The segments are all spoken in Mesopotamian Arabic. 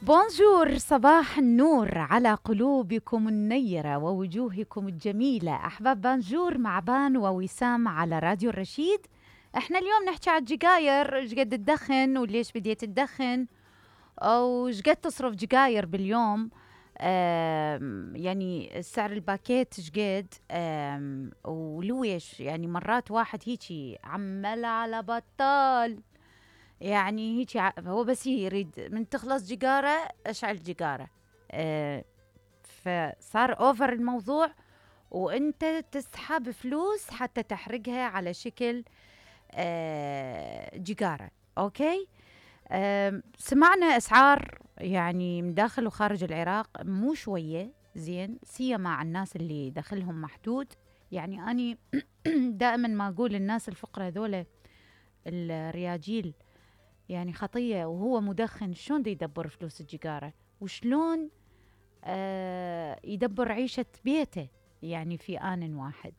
بونجور، صباح النور على قلوبكم النيرة ووجوهكم الجميلة. أحباب بانجور مع بان ووسام على راديو الرشيد. احنا اليوم نحكي على الجقاير، ايش قد تدخن وليش بديت تدخن، او ايش قد تصرف جقاير باليوم. يعني سعر الباكيت ايش قد، ولويش يعني مرات واحد هيجي عمال على بطال، يعني هيك هو بس يريد من تخلص جقارة اشعل جقارة. فصار اوفر الموضوع، وانت تسحب فلوس حتى تحرقها على شكل جقارة. اوكي. سمعنا اسعار يعني من داخل وخارج العراق مو شوية زين، سيما مع الناس اللي دخلهم محدود. يعني اني دائما ما اقول الناس الفقراء ذولا، الرياجيل يعني خطية، وهو مدخن شلون دي يدبر فلوس الجقارة، وشلون يدبر عيشة بيته يعني في آن واحد.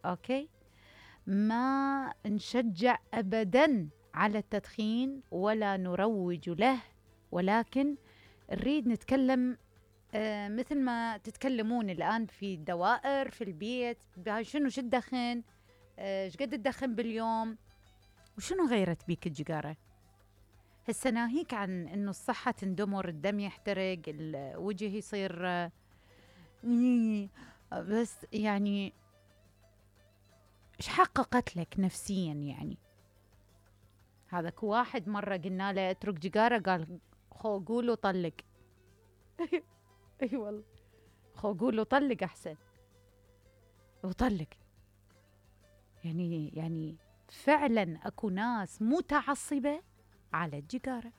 أوكي. ما نشجع أبدا على التدخين ولا نروج له، ولكن نريد نتكلم مثل ما تتكلمون الآن في الدوائر في البيت، شنو شو تدخن، ايش قد تدخن باليوم، وشنو غيرت بيك الجقارة. هسه ناهيك عن انه الصحة تندمر، الدم يحترق، الوجه يصير بس يعني ايش حققت لك نفسيا يعني. هذاك واحد مرة قلنا له اترك جقارة، قال خو قول وطلق. اي والله، خو قول وطلق احسن، وطلق. يعني فعلا اكو ناس متعصبة على الجقارة.